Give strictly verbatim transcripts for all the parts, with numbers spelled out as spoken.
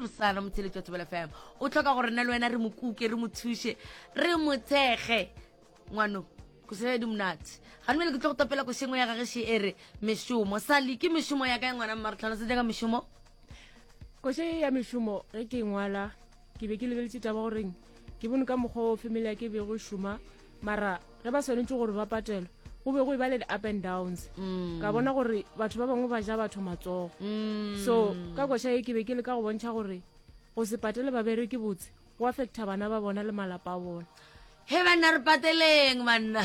bosana motheletši wa Thobela F M. O tlhoka gore nna le wena re mo kuke, re mo thuše, re mo thekge. Ngwano koša di monate gane ke tlo go topela košengwe ya gage e re Mešomo. Sali, ke mešomo ya kae, ngwana mma? Re tlhalosetsa ka mešomo. Koša ye ya Mešomo, ge ke ngwala ke be ke lebeletše taba goreng ke bone ka mokgwa o family ya ke bego e šoma, mara ge ba swanetše gore ba patelwe go be go e ba le di-up and downs. Mm. Ka bona gore batho ba bangwe ba ja batho matsogo. Mm. So ka koša ye ke be ke le ka go bontšha gore go se patele babereki botse go affecta bana ba bona le malapa a bona. He banna, re pateleng banna.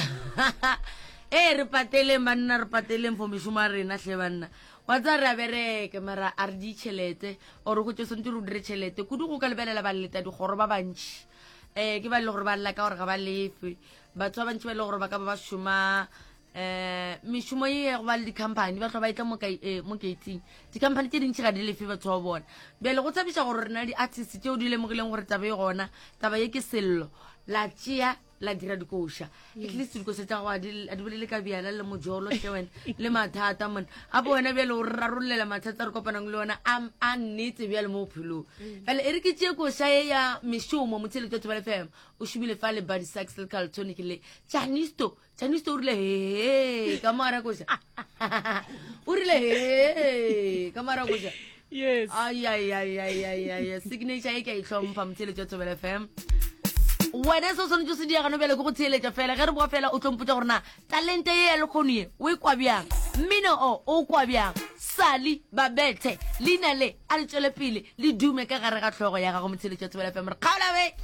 Ee, re pateleng banna, re pateleng for mešomo ya rena hle banna. Wa tsa re a bereke, mara a re di tšhelete or go tse swantse re o dire tšhelete kudu. Go ka lebelela baleta dikgoro ba bantšhi, um ke ba e le gore ba lla ka gore ga ba lefe. Batho ba bantšhi ba e le gore ba ka ba ba šoma um mešomo ye ya go ba le di-company, ba tlho ba etla mo kai- eh, mo gating. Di-company tše dintšhi ga di lefe batho ba bona. Bjale go thabiša gore rena di-artist tšeo di lemogileng gore taba e gona, taba ye ke sello, la tšea la dira dikoša. At least dikoša tša gago a di a di bolele ka bjala le mojolo hle wena le mathata mone apo wena. Bjale o re rarollela mathata a re kopanang le ona a a nnete bjale mo bophelong. Bjale e re ke tšee koša ye ya Mešomo. Motheletši wa Thobela F M o šomile fa le Body Sax le Carltonic le Janisto. Janisto o rile he ka mogara koša, o rile he ka mogara koša. Yes. Aiaiaiaiai, signature e ke a itlhompha. Motheletši wa Thobela F M, wena se o swanetse o se diagano bjale ke go theeletša fela. Ge re boa fela o tlompotsa gore na talente ye ya lekgono ye o e kwa bjang, mmino o o kwa bjang. Sali Babethe, leina le a le tswele pele le dume ka gare ga tlhogo ya gago. Motheletši wa Thobela F M, re kgaola be.